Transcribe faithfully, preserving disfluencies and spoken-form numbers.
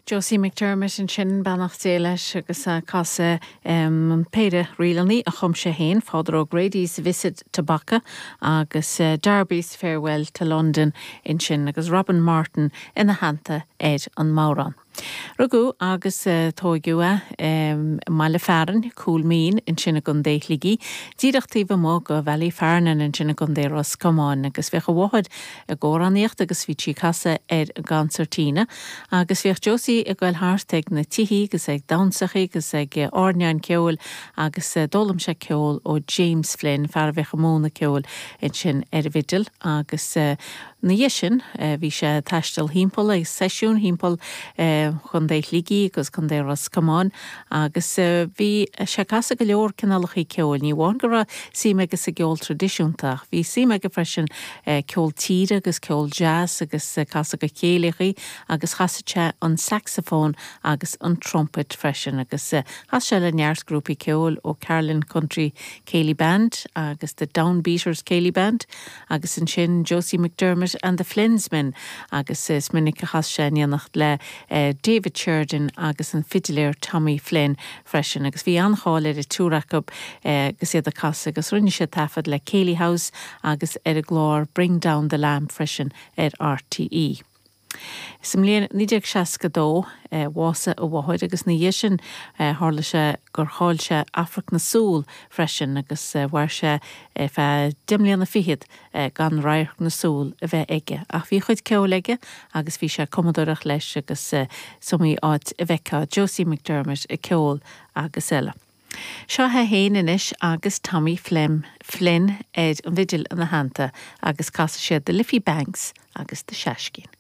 Josie McDermott ansin beannacht Dé leis agus casadh um, péire ríleanna a chum sé féin Father O'Grady's Visit to Bacach agus uh, Darby's Farewell to London ansin agus Robin Martin ina theannta ar an mbodhrán. Rugadh agus uh, tógadh é um, mbaile fearainn Cúil Mín ansin i gContae Shligigh, díreach taobh amuigh de Ballyfarnon ansin i gContae Ros Comáin agus bhíodh a mháthair ag amhránaíocht agus bhí sí ag casadh ar concertina, agus bhíodh Josie ag dul thart ag na tithe agus ag damhsaí agus ag airneáin ceoil agus d'fhoghlaim sé ceol ó James Flynn fear a bhíodh ag múineadh ceoil ansin ar an bhfidil agus uh, ina dhiaidh sin bhí sé ag taisteal timpeall ag seisiún timpeall Chontae Shligigh agus Contae Ros Comáin agus bhí sé ag casadh go leor cineálacha ceoil, ní amháin go raibh suim aige sa gceol traidisiúnta, bhí suim aige freisin ceol tíre agus ceol jazz agus casadh go céilí agus chasadh sé an saxophone agus an trumpet freisin agus chas sé le neart grúpaí ceoil ó Carlin Country Céilí Band agus the Downbeaters Céilí Band agus ansin Josie McDermott and the Flynsmen agus is minic a chas sé in éineacht le uh, David Sheridan agus an fidiléir Tommy Flynn freisin agus bhí an-cháil ar an triúr acu uh, agus iad ag casadh agus rinne sé taifead le Céilí House agus ar an gclár Bring Down the Lamp freisin ar RTE. Sa mbliain naoi déag seasca dó bhásaigh a mháthair agus ina dhiaidh sin tharla sé gur chaill sé amharc na súl freisin agus mhair sé feadh deich mbliana fichead gan radharc na súl a bheith aige. Ach bhí chuid ceoil aige agus bhí sé cumadóireacht leis agus is iomaí áit a bhfeicfeá Josie McDermott ag ceol agus eile. Seo é féin anois agus Tommy Flynn Flynn ar an bhfidil ina theannta agus casfaidh siad The Liffey Banks agus The Shashkeen.